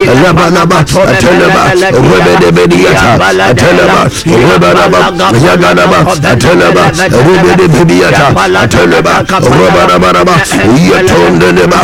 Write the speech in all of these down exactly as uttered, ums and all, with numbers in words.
Rabanaba, Ateleba, Rebedebediata, Ateleba, Rebanaba, Yaganaba, Ateleba, Rebedebediata, Ateleba, Rabanabanaba, Yatondeleba,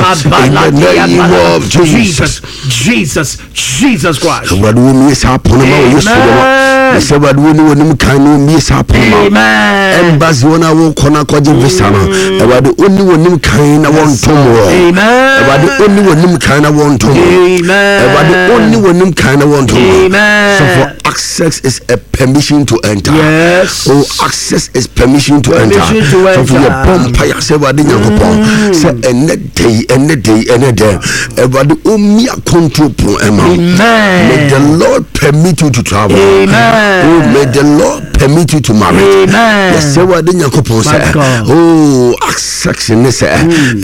in the name of Jesus. Jesus, Jesus, Jesus Christ. Awurade, wɔmmie saa pono ma wɔ Yesu dɛm. Amen. Sɛ Awurade wɔne wɔnim kan no, wɔmmie saa pono ma wo. Amen. Embassy wɔn a wɔkɔ no akɔgye visa no, Awurade ɔni wɔnim kan na wɔntom wɔ. Amen. Awurade ɔni wɔnim kan na wɔntom wɔ. Amen. Awurade ɔni wɔnim kan na wɔntom wɔ. Amen. So for access is a permission to enter. Yes. Oh, access is permission to enter. Permission to So for enter. yɛ bɔ mpaeɛ sɛ Awurade Nyankopɔn sɛ ɛnɛ da yi, ɛnɛ da yi, ɛnɛ da yi, Awurade ɔmmi akonto pon ɛma wo. Amen. May the Lord permit you to travel. Amen. Oh, may the Lord permit you to marry. Amen. Yɛsɛ Awurade Nyankopɔn My sɛ, God. oh, access ne sɛ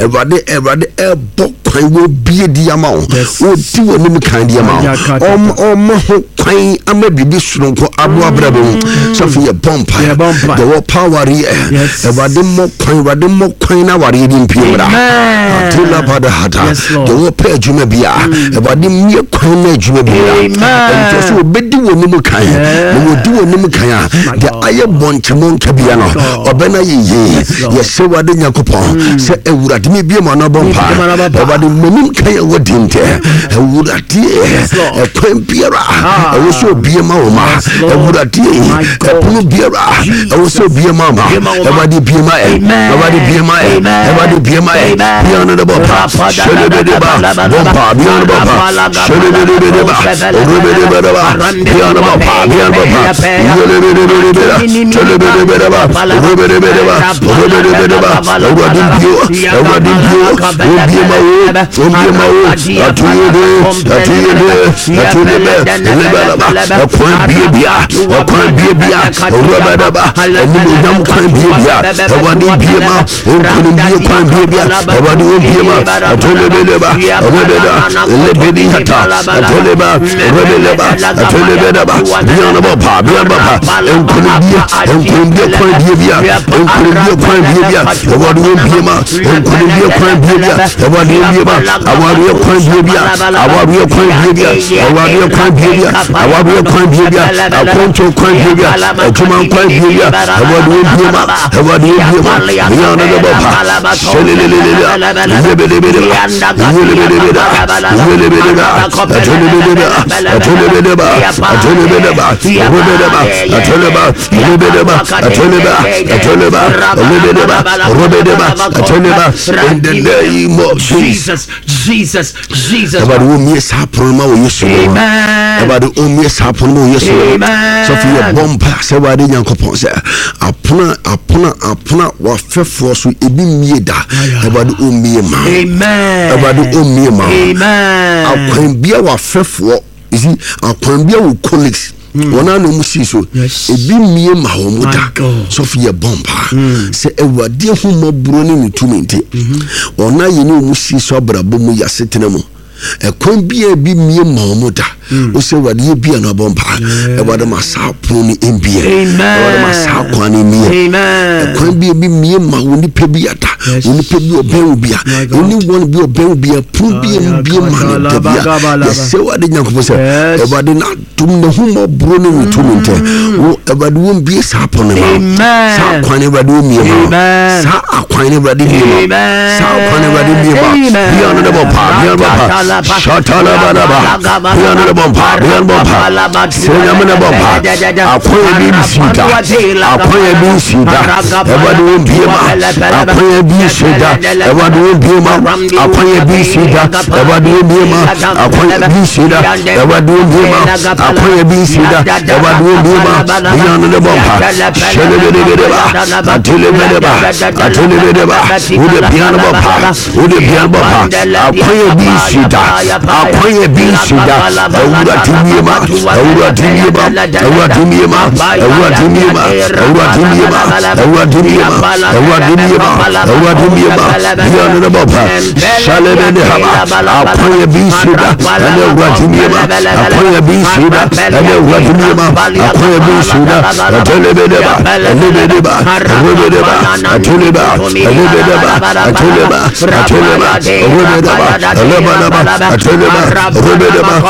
Awurade Awurade ɛbɔ kwan wɔ bie di ama wo. Yes. Wɔdi w'anim kan di ama wo. Ayakata. Ɔm- ɔma ho kwan ama biribi soronko aboa brabɔ mu. Sɔfo, yɛ bɔ mpaeɛ. Yɛbɔ mpaeɛ. Deɛ wɔpa awareɛ, Yes. Awurade mmɔ kwan, Awurade mmɔ kwan na awareɛ bi mpie mmra. Amen. Atela bada hata. Yes, Lord. Deɛ wɔpɛ adwuma bi a, Awurade mmie kwan na adwuma bi mmra. Amen. Ɛnti sɛ wɔbɛdi w'anim kan Yes. na wɔdi w'anim kan a, My deɛ God. ayɛ bɔnkyɛmɔ nka bia no, God. ɔbɛna yɛ yie. Yes, Lord. Yɛsɛ Awurade Nyankopɔn sɛ Awurade mebie mu anabɔ mpa. Mebie mu anabɔ mpa. Awurade m'anim kan a wɔdi ntɛ, Awurade, Yes, Lord. ɛkwan biara Ah. ɛwɔ sɛ obie ma wo ma. Yes, Lord. Awurade, My God. ɛpono biara ɛwɔ sɛ obie ma wo ma, Bie ma wo ma. Awurade bie ma ɛ. Amen. Awurade bie ma ɛ. Amen. Awurade bie ma ɛ. Amen. Bia no de bɔ pa selebedeba bɔ mpa, bia no bɔ pa selebedebedeba orebedebedeba, bia no bɔ pa, bia no bɔ pa yelebedebedeba telebedebedeba orebedebedeba orebedebedeba. Awurade bio, Awurade bio, obie ma wo, obie ma wo. Atuyede, atuyede, atuyebe lebeleba, ɛkwan bie bia, ɛkwan bie bia, owurabadaba animonyam kwan bie bia, Awurade bie ma nkonimdie kwan bie bia, Awurade obie ma atolebeleba rebeda lebedi hata atoleba rebeleba atolebedeba bianabɔ pa, bianabɔ pa, nkonimdie, nkonimdie kwan bie bia, nkonimdie kwan bie bia, Awurade obie ma nkonimdie kwan bie bia, Awurade obie ma awareɛ kwan bie bia, awareɛ kwan bie bia, awareɛ kwan bie bia, awareɛ kwan bie bia, akɔnto kwan bie bia, adwuma kwan bie bia, Awurade obie ma, Awurade obie ma bianabɔ pa selelelele yebelebeleba yelebelebela yelebeleba atolebeleba atolebeleba atolebeleba rebeleba atoleba rebeleba atoleba atoleba rebeleba rebeleba atoleba, in the name of Jesus. Jesus, Jesus, Jesus. Awurade wɔmmie saa pono ma wɔ Yesu mu. Amen. Awurade ɔmmie saa pono ma wɔ Yesu mu. Amen. Sɔfo, yɛbɔ mpa sɛ Awurade Nyankopɔn sɛ apono, apono, apono a wafɛfoɔ so ebi mmie da, Awurade ɔmmie ma wo. Amen. Awurade ɔmmie ma wo. Amen. Akwan bia wafɛfoɔ, you see, akwan bia wo colleagues wɔn a na wɔn si so Yes. ebi mmie ma wɔn My da. God. Sɔfo, yɛ bɔ mpa sɛ Awurade ahomɔborɔ ne ne tumi nti wɔn a yɛne wɔn si so abrabɔ mu yɛ asetena mu ɛkwan bia bi mmie ma wɔn da, wosɛ Awurade yɛ bia no abɔ mpa, Awurade ma saa pono no mbie. Amen. Awurade ma saa kwan no mmie. Amen. Ɛkwan bi ebi mmie ma wo nipa bi ada. Yes. Wo nipa bi ɔbɛn wo bi a My God. ɛne wɔn bi ɔbɛn wo bi a, pono bi mbie ma no da bi a, yɛsɛ Awurade Nyankopɔn sɛ Yes. Awurade n'adom n'ahomɔborɔ ne ne tumi ntɛ wo, Awurade wɔn bie saa pono no ma wo. Amen. Saa kwan no, Awurade wɔn mmie ma wo. Amen. Saa akwan no, Awurade mmie ma wo. Amen. Saa kwan no, Awurade mmie ma wo. Amen. Bia no de bɔ pa, bia no bɔ pa shatalabalaba, bia no de bɔ pa, bia no bɔ pa sɛ Nyame no bɔ pa. Akwan bi nsi da, akwan bi nsi da, Awurade wɔn bie ma akwan bi nsi da, Awurade wɔn bie ma akwan bi nsi da, Awurade wɔn bie ma akwan bi nsi da, Awurade wɔn bie ma akwan bi nsi da, Awurade wɔn bie ma bia no de bɔ pa sɛlebedebedeba atelebedeba atelebedeba wode bia no bɔ pa, wode bia no bɔ pa. Akwan bi nsi da, akwan bi nsi da, Awurade mie ma, Awurade mie ma, Awurade mie ma, Awurade mie ma, Awurade mie ma, Awurade mie ma, Awurade mie ma, Awurade mie ma bia no de bɔ pa salebede haba. Akwan bi nsi da ɛne Awurade mie ma, akwan bi nsi da ɛne Awurade mie ma, akwan bi nsi da atelebedeba elebedeba rebedeba ateleba elebedeba ateleba ateleba rebedeba elebedeba ateleba rebedeba.